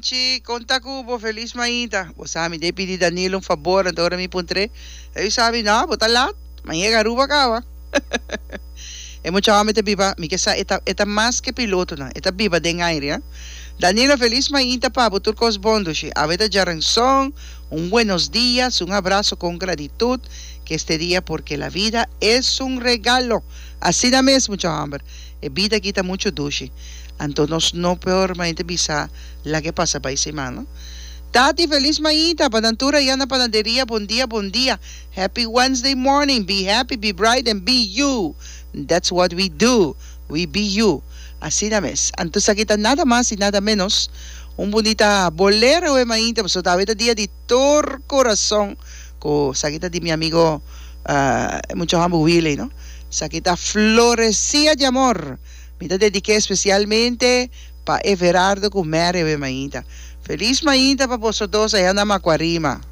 Chi, konta ku bo felis mainta. Bo sa mi debe pidi Danilo un fabor, anto ora mi puntr'é, e bisa mi, No, bo ta lat, mi a yega Aruba kaba. E mucha hòmber ta biba, mi ke sa, e ta, e ta mas ke pilotonan, e ta biba den aire, ha. Danilo, felis mainta pa bo, tur kos bon, dushi. Awe ta djaranson, un buenos dias, un abraso kon gratitud, ke este dia porque la vida es un regalo. Asina mes, mucha hòmber, e bida aki ta muchu dushi. Anto nos no por mainta bisa laga e pasa bai siman no. Tati felis mainta pa nan tur aya na panaderia bon dia bon dia happy Wednesday morning be happy be bright and be you that's what we do we be you asina mes anto esaki ta nada mas y nada menos un bunita bolero e mainta pasobra ta awe ta dia di tur corazon cu esaki ta di mi amigo e mucha homber Willy no esaki ta florecia di amor. Mi ta dedik'é espesialmente pa Everardo ku Mary awe mainta. Felis mainta pa boso dos allá na Macuarima.